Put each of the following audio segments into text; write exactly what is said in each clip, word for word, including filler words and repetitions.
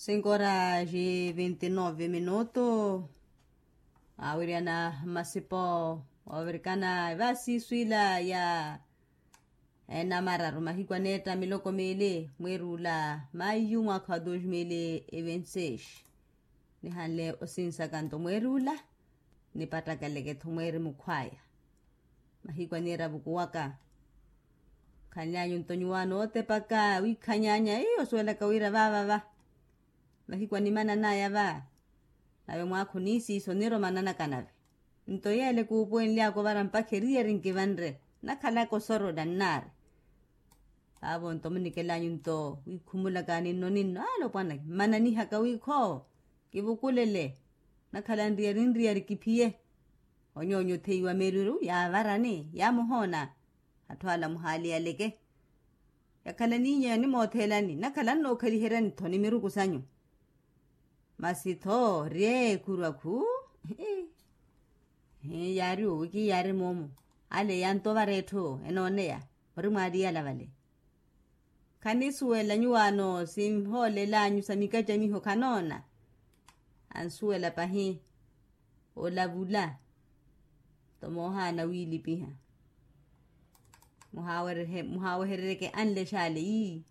Cinco horas e vinte e nove minuto. Awiriyana masipo ovirikana evasiso ila ya enamararu mahiku aneetta miloko miili mwiirula maiyu mwaakha wa dos mil e vinte seis. Nihanle osinsaka nto mwiirula nipattakelekettho mwiiri mukhwaya. Mahiku aniira vukuwaka. Khanlyanyu nto nyuwaano ootepaka wiikhanyaanya ii osuwelaka wira vaavava. Mahiku animananaya va. Nave mwaakha oniisiisa oniroma nanaka nave. Nto yeele kuupuwenlyaka ovara mpakha eriyari nkivanre. Nakhalaka osorola nnaari. Vaavo nto munikelanyu nto wiikhumulaka ninno ninno ale opwanaki mmananihaka wiikho. Kivukulele. Nakhala nriyari nriyari kiphiye. Onyoonyo otheiwa miriru yaavarani yaamuhoona. Atthu ala muhaaliyaleke. Yakhala niinyeya ni moothelani nakhala nnookhaliheriyanitho ni miruku sanyu. Masi tho rye ekuru akhu. Yaari owi kiyaari moomo. Ale yantovara etthu enooneya ori mwaariyala vale. Khanisuwela nyuwaano sinhoolelanyu sa mikacamiho khanoona. Ansuwela pahi. Olavula. Nto moohaana wiilipiha. Muhaawereryeke anlexale ii.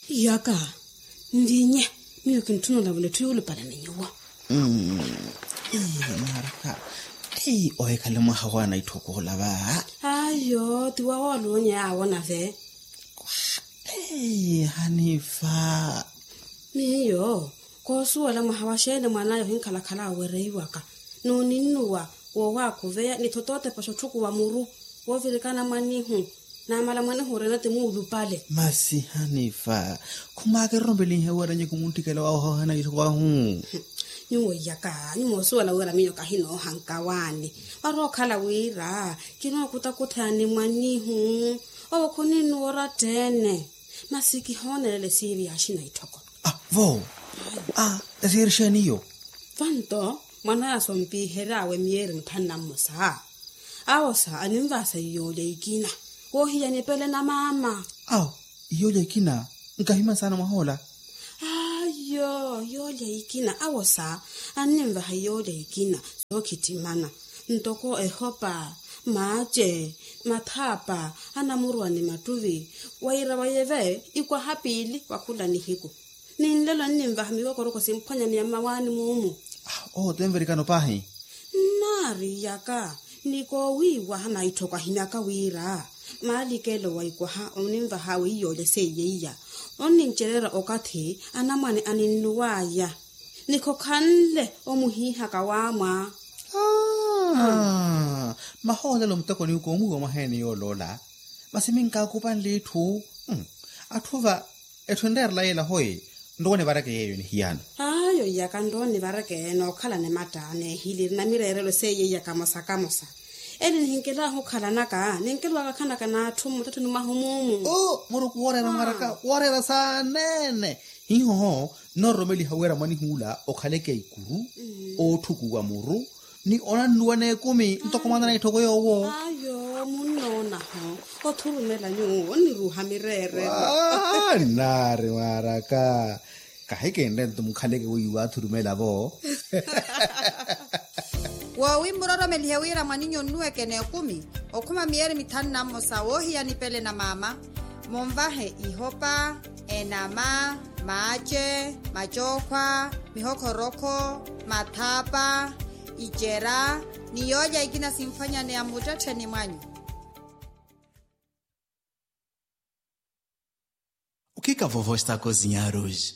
Iyaka nvinye. Miyo kintthuna olavula etthu yuulupale ni nyuwo. Mwaraka. Ohikhale mwaha wa naitthoko ola va. Ayo ti wawoolunya awo nave. Hanifa. Miyo koosuwela mwaha wa xeeni mwan'aya ohinkhalakhala awereiwaka. N'uninnuwa woowakhuveya ni thotootepa xotthukhuwa muru. Woovirikana mwanihu. Naamala mwanihu orina ti muulupale. Masi hanifa. Khumaakererompelinhe weeranyeku muntthikela wawe ohohana itthoko ahu. Nyuwo iyaka nyuwo osuwela wira miyo kahinoohanka waani. Warookhala wira kinookutakutha ni mwanihu. Owo khuninnuwa orattheene. Masi kihoonelela esiiri ya axina itthoko. Vo. Esiiri xeeni iyo? Vanto mwan'aya sompiihery'awe miyeeri mithanu na mmosa. Awosa animvaasa iyoolya ikina. Woohiya nipele na maama. Awo iyoolya ikina. Nkahimani saana mwahoola. Ayo iyoolya ikina awosa anninvaha iyoolya ikina. Sookhittimana ntoko ehopa, maace, mathaapa, anamuruwa ni mattuvi. Wira wayeve ikwaha piili wa khula nihiku. Ni nlelo nninvaha mikokoroko simphwanyaneya mmawaani muumu. Owo tenverikano paahi. Nnaari iyaka ni koowiiwaha naitthoko ahimyaka wira maalikelo wa ikwaha oninvah'awe iyoolya seiye iya. Onnincereerya okathi anamwane aninnuw'aya. Ni khokhanle omuhiihaka waamwa. Mahoolelo muteko niwu koomwiiwa mwaheeni yooloola. Masi minkaakupanle itthu. Atthu va etthu enreerela yeela hoyi. Nrowa onivareke yeeyo nihiyano. Ayo iyaka nrowa onivareke nookhalani matta neehiliri na mireerelo seiye iyaka mosa kamosa. Eli nihinkelaahu okhalanaka ninkelowaka khanaka n'atthu mmuttetthoni mwahu muumu. Muruku wooreera mwaraka wooreera saaneene. Hiihoho nnoororomeliha wira mwanihuula okhaleke ikuru, ootthukuwa muru, ni onannuwa n'ekumi ntoko mwaana na itthoko yoowo. Ayo munnoonaho othurumela nyuwo onniruuha mireerelo. Nnaari mwaraka. Kahikinre nto mukhaleke weiwa athurumela vo. Woowi mmuroromelihe wira mwaninyu onnuweke n'ekumi okhuma miyeeri mithanu na mmosa woohiya nipele na maama. Munvahe ihopa, enama, maace, macookhwa, mihokhorókho, mathaapa, icera, ni yoolya ikina simphwanyaneya mmuttettheni mwanyu. O que que a vovó está a cozinhar hoje?